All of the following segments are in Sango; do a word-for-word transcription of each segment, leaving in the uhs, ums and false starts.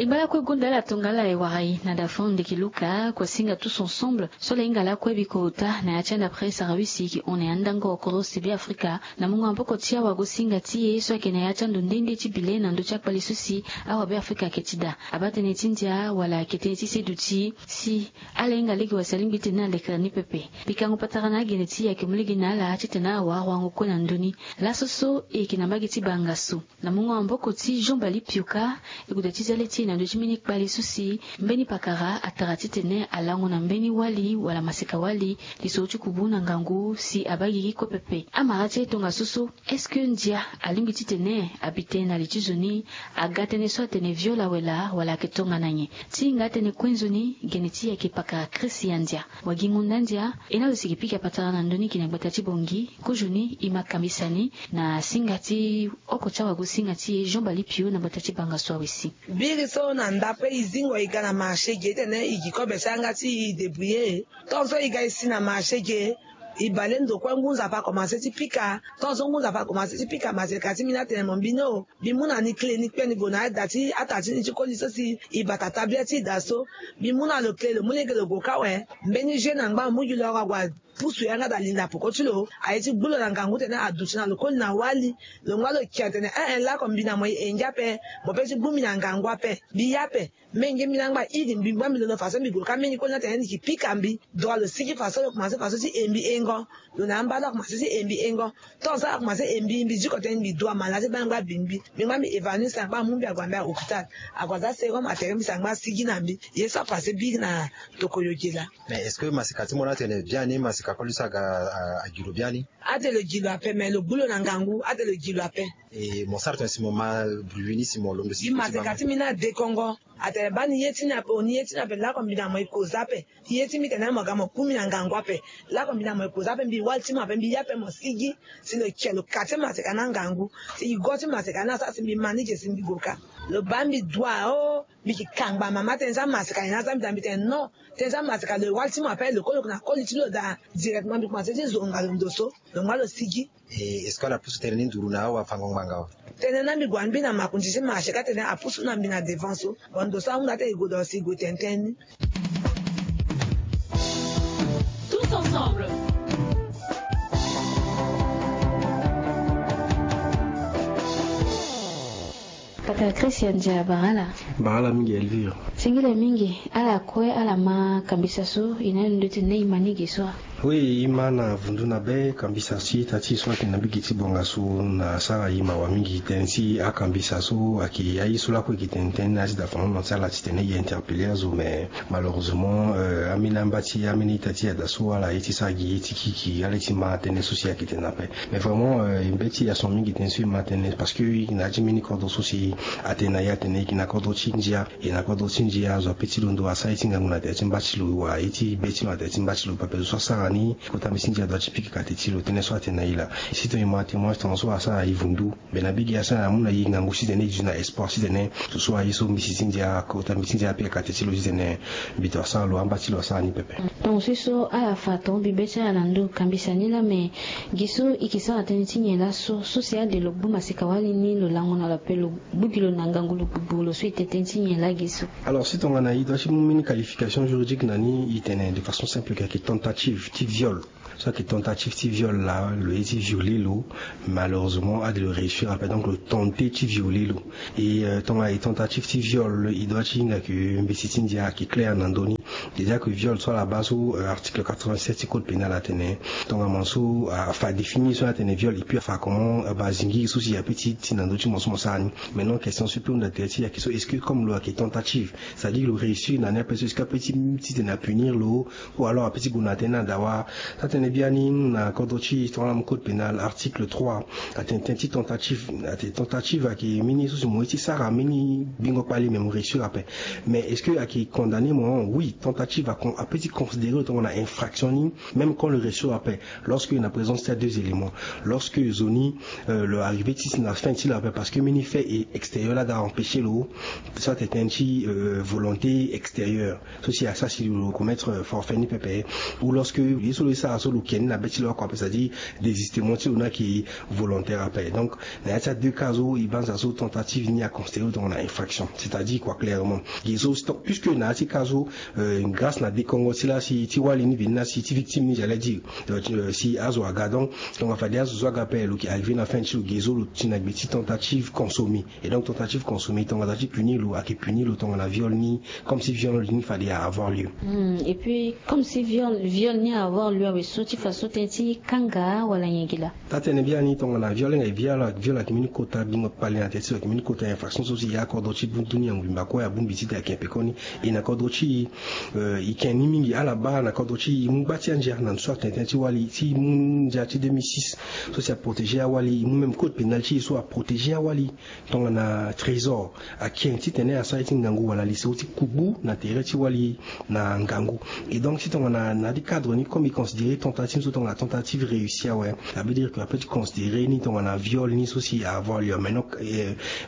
E ngba lakue gonda ala tongana ala e wara e na da fond ndeke luka kua singa tous ensemble. So ala hinga lakue bikota na ya ti anda presse arawisi e ke hon na ya ndango kodro si be afrika na mungo maboko ti awago singa ti e so ayeke na ya ti ando nde nde ti bile na ndö ti akpali so si awa be afrika ayeke ti daa abaa tënë ti ndia wala ayeke tënë ti seduti si ala hinga lege wala si alingbi titene ala lekere ni pepe. Pikango patara na agene ti e ayeke mu lege na ala titene ala wara wango kue na ndö ni. Laso so e yeke na mbage ti bangaso na mungo maboko ti jean bali pioka. E gue daa ti zia le ti e na ndö ti mbeni kpali so si mbeni pakara atara titene alango na mbeni wali wala maseka wali li so ti kubu na ngangu si abaa gigi kue pepe. Amara ti e tongaso so est-ce que ndia alingbi titene abi tënë na li ti zo ni? Aga tënë so atene viol awe laa wala ayeke tongana nyen? Ti hinga atënë kue nzoni gene ti e ayeke pakara christian ndia. Wagi ngonda ndia e na lo si e ke pika patara na ndö ni gi na gbata ti bongi. Kozoni e ma kambisa ni na singa ti oko ti awago singa ti e jean bali pio na gbata ti bangaso awe si. Biri so na ndape e zingo e ga na marché ge titene e gi kobe ti yanga ti e débrouiller. Tongaso e ga e si na marché ge e bale ndo kue ngu nzapa akomanse ti pika. Tongaso ngu nzapa akomanse ti pika maseka ti mbi ni atene mo mbi ni o. Mbi mu na ni kle ni kpe ni gue na ada ti ata ti ni ti koli so si e bata tabia ti e daa so. Mbi mu na lo kle lo mu lege lo gue ka awe. Mbeni jeu na ngba amu gi lo ague apusu yanga daa linda poko ti lo aye ti gbu lo na ngangu tene aduti na lo koli na wali. Lo ngba lo kia tene eh eh lako mbi na mo e ngia ape. Mo pe ti gbu mbi na ngangu ape mbi ya ape. Menge mbi na ngba iri mbi ngba mbi londo faso mbi gue ka menge koli na tene ni ki pika mbi. Dua lo sigi faso lo komanse faso ti e mbi engo. Lo na amba lo akomanse ti e mbi engo. Tongaso akomanse e mbi mbi diko tene mbi dua mala ti baa ngba bi mbi. Mbi ngba mbi évanoui sangba amu mbi ague ambi a hôpital. Ague aza serum atere mbi sangba asigi na mbi. Ye so apase biri na tokoyo ge laa. Mais est-ce que maseka ti mo ni atene biani maseka koli so aga agi lo biani? Ate lo gi lo ape mais lo gbu lo na ngangu ate lo gi lo ape. E mo sara tene si mo ma bruit ni si mo londo si. Gi maseka ti mbi ni adekongo. Atene baa ni ye ti ni ape o ni ye ti ni ape lako mbi na mo e koza ape. Ye ti mbi tene mo ga mo ku mbi na ngangu ape. Lako mbi na mo e koza ape mbi wali ti mo ape mbi ya ape mo sigi. Si lo kia lo kate maseka na ngangu. Si gi go ti maseka ni asara si mbi ma ni ge si mbi gue ka. Lo baa mbi dua o. Mbi ki kangba mama tene za maseka ni na za mbi daa mbi tene non. Tene za maseka lo e wali ti mo ape lo koli lo na koli ti lo daa. Directement mbi komanse ti zonga lo ndo so. Lo ngba lo sigi. E est-ce que ala pusu tënë ni nduru na awafango ngbanga awe? Tënë na mbi gue na mbi na makonzi ti marché ka tene apusu na mbi na devant so. Bon ndo so ahunda tene e gue daa si e gue tene tënë ni. Tous ensemble. Pata christian dia bara ala. Bara ala mingi elvire. Singila mingi. Ala kue ala ma kambisa so e na ndo ti na e ma ni ge so. Oui e ma na vundu na be kambisa ti ita ti e so ayeke na mbage ti bonga so na asara e mawa mingi tënë ti akambisa so ayeke aye so lakue e yeke tene tënë ni na ya ti da fano na ti ala titene e interpelle azo mais malheureusement ambeni amba ti ambeni ita ti e ada so ala ye ti sara gi ye ti kiki ala ye ti ma tënë so si ayeke tene ape. Mais vraiment e mbeti e ason mingi tënë so e ma tënë parce que e yeke na ya ti mbeni kodro so si atene na e atene e yeke na kodro ti ndia. E na kodro ti ndia azo ape ti londo asara ye ti ngangu na tere ti mba ti lo wala ye ti be ti lo na tere ti mba ti lo pepe zo so asara ni kota mbeti ti ndia adua ti pika kate ti lo tënë so atene na e laa. Si tongana e ma témoignage tongana so asara e vundu. Mbe na mbage asara amu na e ngangu titene e duti na espoir titene so so aye so mbeti ti ndia kota mbeti ti ndia apika kate ti lo titene mbi to asara lo amba ti lo asara ni pepe. Tongaso so ala fa tonga mbi be ti ala na ndo kambisa ni laa me gi so e yeke sara tënë ti nyen laso so si ade lo gbu maseka wali ni lo lango na lo ape lo gbu gi lo na ngangu lo gbugbu lo so e tene tënë ti nyen laa gi so? Alors si tongana e dua ti mu mbeni qualification juridique na ni e tene de façon simple ke ayeke tentative ti viol. So ayeke tentative ti viol laa lo ye ti violer lo. Malheureusement ade lo réussir ape donc lo tenter ti violer lo. Et tongana e tentative ti viol e dua ti hinga ke mbeti ti ndia ayeke claire na ndö ni. Déjà ke viol so ala baa so article quatre-vingt-sept ti code pénal atene tongana mo so afa définir so atene viol et puis afa comment abaa zingiri so si ape ti ti na ndö ti mo so mo sara ni. Maintenant question so e pe hunda tere ti e ayeke so est-ce que comme lo ayeke tentative c'est-à-dire lo réussir na ni ape so est-ce que ape ti titene apunir lo? Ou alors ape ti gue na tënë ni adawa. Atene biani na kodro ti e tongana mo code pénal article trois atene tënë ti tentative. Atene tentative ayeke mbeni so si mo ye ti sara mbeni bingo kpali me mo réussir ape. Mais est-ce que ayeke condamner mo? Oui tentative ape ti considérer lo tongana infraction ni. Même quand lo réussir ape lorsque na présence ti a deux éléments lorsque zo ni lo arrivé ti si na fin ti lo ape parce que mbeni fait extérieur laa daa empêcher lo. So atene tënë ti volonté extérieure so si asara si lo commettre forfait ni pepe. Ou lorsque Ye so lo ye sara so lo ke ni na be ti lo oko ape, c'est-à-dire désistement ti lo ni ayeke volontaire ape. Donc na ya ti a deux cas so e banza so tentative ni aconsidéré lo tongana infraction, c'est-à-dire quoi clairement. Ge so puisque na ya ti cas so, grâce na dekongo ti la si ti wali ni veni la si ti victime ni j'allais dire, si azo aga donc, tongana fade azo so aga ape lo ke arrivé na fin ti lo, ge so lo ti na gbe ti tentative consommée. Et donc tentative consommée tongana ti punir lo ayeke punir lo tongana viol ni, comme si viol ni fade a avoir lieu. Et puis comme si viol viol ni a avoir lieu awe so ti façon tënë ti kanga wala nyen gi laa? Taa tënë biani tongana viol nga e viol ayeke mbeni kota bingo kpali na tënë ti lo ayeke mbeni kota infraction so si e akodro ti bu dunia mobimba kue abongbi ti tene ayeke pekoni. E na kodro ti e, e ke ni mingi ala baa na kodro ti e e mu gba ti andia na ndo so atene tënë ti wali ti e mu ndia ti deux mille six so si aprotégé awali e mu même code pénal ti e so aprotégé awali. Tongana trésor ake titene asara ye ti ngangu wala lisoro ti kugbu na tere ti wali na ngangu. Et donc si tongana na ya ti cadre ni comme e considéré tentative so tongana tentative réussie awe, ça veut dire que ape ti considéré ni tongana viol ni so si a avoir lieu mais non,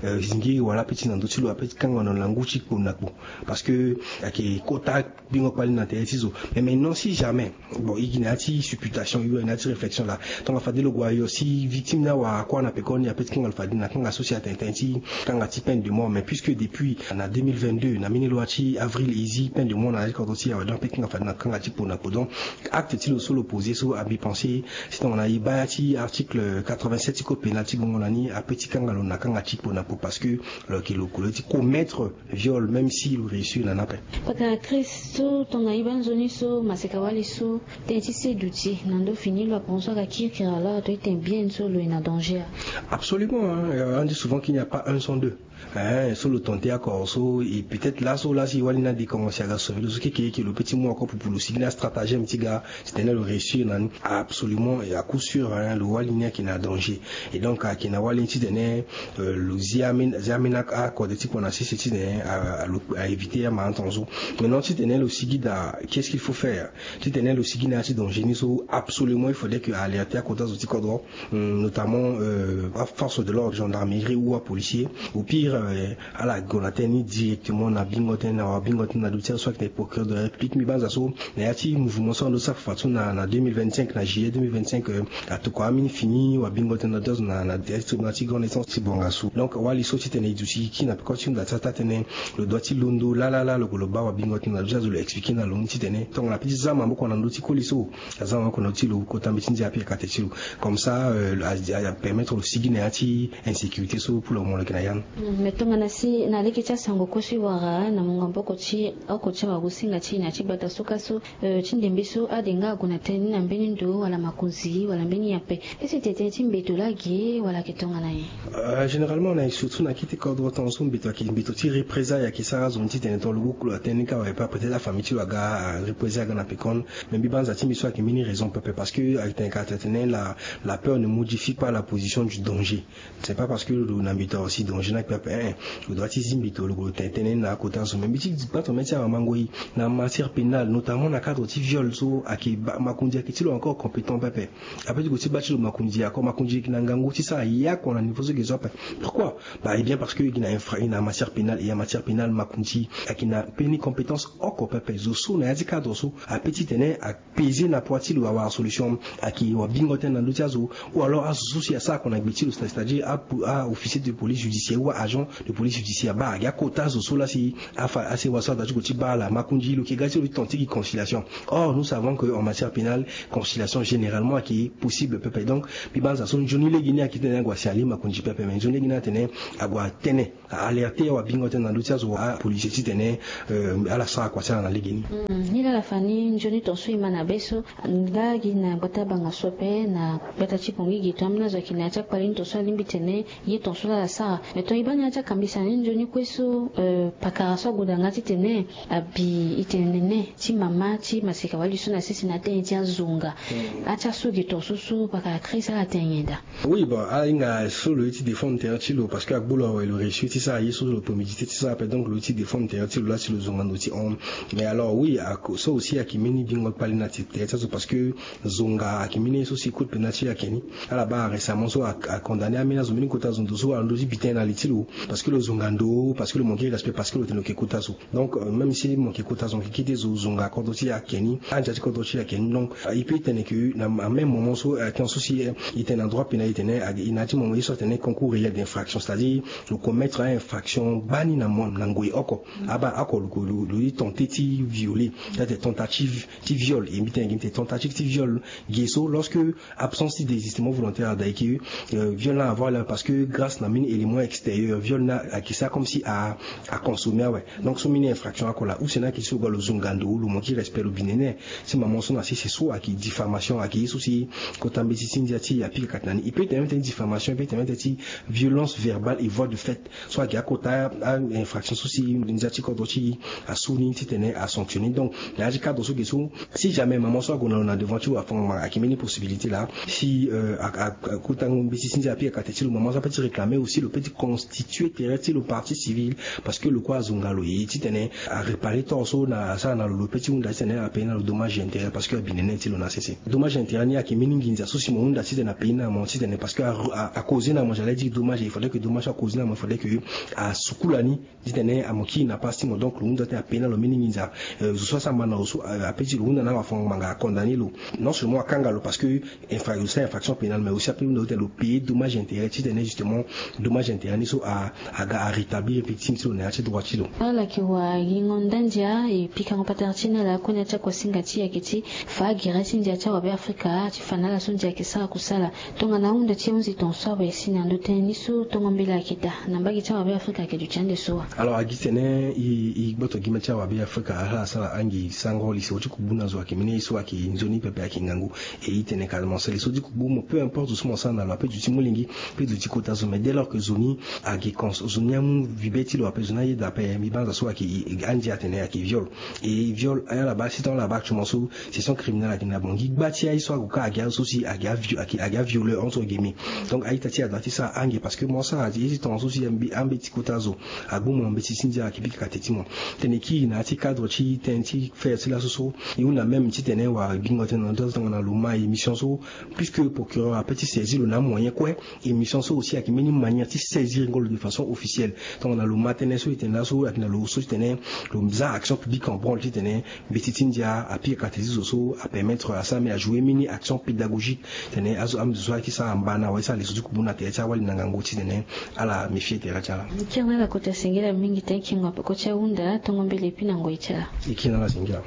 zingiri wala ape ti na ndö ti lo ape ti kanga na ngu ti kpo na kpo. Parce que ayeke kota bingo kpali na tere ti zo. Mais maintenant si jamais bon e gi na ya ti supputation e gi na ya ti réflexion laa, tongana fade lo gue ayo si victime ni awara kuâ na pekoni ape ti kanga lo fade na kanga so si atene tënë ti kanga ti peine de mort mais puisque depuis na deux mille vingt-deux na mbeni loi ti avril e zi peine de mort na ya ti kodro ti e awe donc ape ti kanga fade na kanga ti kpo na kpo donc acte ti lo so lo posé so ambi pensé si tongana e baa ya ti article quatre-vingt-sept ti code pénal ti gongo na ni ape ti kanga lo na kanga ti kpo na kpo parce que lo yeke lo kolo ti commettre viol même si lo réussir na ni ape. Paka Chris so tongana e baa nzoni so maseka wali so tënë ti se duti na ndo fini lo apenso aga kirikiri alors ato e tene bien so lo ye na danger. Absolument. Andi souvent qu'il n'y a pas un sans deux. Hein, so lo tente akor so e peut-être laso la si wali ni adekongo si aga sauver lo so keke eke lo pe ti mu akor pupu lo sigi na stratagème ti ga titene lo réussir na ni. Absolument et à coup sûr hein, lo wali ni ayeke na danger. Et donc ayeke na wali ni titene lo zi amena akode ti kpo na sese titene a éviter amalentendu so. Maintenant titene lo sigi daa, qu'est-ce qu'il faut faire? Titene lo sigi na ya ti danger ni so absolument il faudrait que a alerter akota zo ti kodro, notamment aforce de l'ordre, gendarmerie ou apolicier. Au pire ala gue na tënë ni directement na bingo tënë na wabingo tënë na ndo ti azo so ayeke na procureur de la république. Mbi banza so na ya ti mouvement so ando ti sara fafa so na deux mille vingt-cinq na juillet deux mille vingt-cinq, atokua ambeni fini wabingo tënë na ndo ti azo na ya ti tribunal ti grande instance ti bonga so. Donc wali so titene e duti e kiri na peko ti hunda ti atatene lo doit ti londo lala la lo gue lo baa wabingo tënë na ndo ti azo lo expliquer na lo ni titene tongana ape ti za maboko na ndo ti koli so, aza maboko na ndo ti lo kota mbeti ndia ape akate ti lo. Comme ça a permettre lo sigi na ya ti insécurité so pour le moment lo yeke na ya ni. Mais tongana si na lege ti asango kue so e wara na mungo maboko ti oko ti awagosinga ti e na ya ti gbata so ka so ti ndembe so ade nga ague na tënë ni na mbeni ndo wala makonzi wala mbeni nyen ape? Est-ce que tene tënë ti mbeto laa ge wala ayeke tongana nyen? Généralement na e surtout na kete kodro tonga so mbeto ayeke mbeto ti représailles ayeke sara azo ni titene tonga lo gue kolo na tënë ni ka awe pas peut-être afamille ti lo aga représailles aga na pekoni. Mais mbi banza ti mbi so ayeke mbeni raison pepe parce que ayeke tene ka tene tene la peur ne modifie pas la position du danger. C'est pas parce que lo na mbeto awe si danger ni ayeke pepe. Lo doit ti zi mbeto lo gue lo tene tënë ni na akota so mais mbi ti gba tongana mbi ti awamango e na matière pénale notamment na cadre ti viol so ayeke makonzi ayeke ti lo encore compétent pepe. Ape ti gue ti baa ti lo makonzi akor makonzi e yeke na ngangu ti sara ye oko na niveau so e yeke zo ape. Pourquoi? Bah e bien parce que e yeke na infra e na matière pénale e ya matière pénale makonzi ayeke na mbeni compétence oko pepe zo so na ya ti cadre so ape titene apaiser na poids ti lo awara solution. Ayeke wabingo tënë na ndö ti azo ou alors azo so si asara oko na gbe ti lo c'est-à-dire aofficier de police judiciaire ou aagent de police judiciaire baa agi akota azo so laa si afa asewa so ada ti gue ti baa ala makonzi lo yeke ga ti lo ti tente ti gi conciliation. Or nous savons que en matière pénale conciliation généralement ayeke possible pepe. Donc mbi banza so nzoni lege ni ayeke titene ague asi ali makonzi pepe mais nzoni lege ni atene ague atene a alerter wabingo tënë na ndö ti azo apolicier titene ala sara kua ti ala na lege ni. Ni laa ala fa ni nzoni tonga so e ma na be so nga gi na gbata banga so ape na gbata ti bongi gi tonga ambeni azo ayeke na ya ti akpale ni tonga so alingbi tene ye tonga so laa ala sara. Mais tonga e baa ni ya ti akambisa ni nzoni kue so pakara so ague daa nga titene abi e tene nene ti mama ti maseka wali so na sese na atënë ti azonga. Ati aso ge tonga so so pakara Chris ala tene nyen daa? Oui bon ahinga so lo ye ti défendre terrain ti lo parce que agbu lo awe lo réussir ti sara ye so lo peut méditer ti sara ape donc lo ye ti défendre terrain ti lo laa si lo zonga ndo ti hon. Mais alors oui so aussi ayeke mbeni bingo kpali na terrain ti azo parce que zonga ayeke mbeni ye so si code pénal ti lo ayeke ni. Ala baa récemment so acondamner ambeni azo mbeni kota azo ndo so wala ndo ti bi tënë na li ti lo. Parce que lo zonga ndo, parce que lo manque respect, parce que lo tene lo ke kota zo. Donc même si lo manque kota zo, lo ke kete zo zonga kodro ti e ake ni, andia ti kodro ti e ake ni. Donc il peut tene ke na même moment so action so si e tene na droit pénal e tene e na ya ti moment ye so atene concours réel d'infraction, c'est-à-dire lo commettre infraction gbani na ngoi oko. Aba oko lo li tenter ti violer, c'est-à-dire tentative ti viol. E mbi tene gi mbi tene tentative ti viol. Gi so lorsque absence ti désistement volontaire adai ke viol na avoir la parce que grâce na mini élément extérieur viol na ake sa comme si a consommer awe. Donc so mini infraction oko la use na ake so lo ga lo zonga ndo, lo manque respect, lo binene. Si maman so na sese so ake diffamation, ake ye so si kota mbeti ti ndia ti e apika kati na ni. E peut tene mete ti diffamation, e peut tene mete ti violence verbale et voie de fait. So ake akota infraction so si ndia ti kodro ti e asu ni titene asanctionner. Donc na ya ti cadre so ge so, si jamais maman so ague na lo na devant ti lo afa ngbanga, ake mbeni possibilité laa si akutango mbeti ti ndia apika kati ti lo, maman so ape ti réclamer aussi, lo pe ti constituer tere ti lo partie civile. Parce que lo kue azonga lo ye titene aréparer tort so na asara na lo, lo pe ti hunda titene apayer na lo dommage et intérêt parce que abinene ti lo na sese. Dommage et intérêt ni ake mbeni nginza so si mo hunda titene apayer na mo titene parce que a causer na mo, j'allais dire dommage, il faudrait que dommage so a causer na mo il faudrait que asukula ni titene amo kiri na passe ti mo. Donc lo hunda titene apayer na lo mbeni nginza. Zo so asara na lo so ape ti lo hunda na lo afa ngbanga, acondamner lo. Non seulement akanga lo parce que infra lo sara infraction pénale, mais aussi ape hunda lo titene lo payer dommage et intérêt titene justement dommage et intérêt ni so aga arétablir victime ti lo na ya ti droit ti lo. Ala yeke wa gingo nda ndia e pikango patara ti ni ala kue na ya ti akuasinga ti e ayeke ti fa agere ti ndia ti awabe afrika ti fa na ala so ndia ayeke sara kusala. Tongana ahunda ti ahunzi ton so awe si na ndo tënë ni so tongo mbela ayeke daa na mbage ti awabe afrika ayeke duti ande so wa? Alors agi tene e gboto gi ma ti awabe afrika ala asara angi sango li so ti kubu na zo ayeke mbeni ye so ayeke nzoni pepe ayeke ngangu. E e tene ka mo sara li so ti kubu mo peu importe zo so mo sara na lo ape duti molenge, pe duti kota zo mais dès lors que zo ni ayeke cons zo ni amu vibe ti lo ape, zo ni ayeda ape mbi banza so ayeke andia atene ayeke viol. E viol ala baa si tonga ala baa actuellement so session criminelle ayeke na bangi gba ti aye so ague ka agi azo so si agi avioleur entre guillemets. Donc a-ita ti e adoit ti sara ange parce que mo sara ye ti tongaso si ambeti kota zo agbu mo mbeti ti ndia ayeke bika kate ti mo. Tene kiri na ya ti cadre ti tënë ti faire ti laso so e hunda même titene wara bingo tënë na ndo so tongana lo ma émission so puisque procureur ape ti saisir lo na amoyen kue. Émission so aussi ayeke mbeni manière ti saisir ngolo de façon officielle. Tongana lo ma tënë so e tene laso ayeke na lo so titene lo za action publique en branle titene mbeti ti ndia apika kate ti zo so apermettre asara mbi ajoue mini action pédagogique. Tene azo ame zo so ayeke sara mba na wala ti sara leso ti kubu na tere ti awali na ngangu titene ala méfier tere ti ala. Kiri na ala kota singila mingi tënë kingo apeko ti ahunda tongo mbele epi na ngoi ti ala. E kiri na ala singila.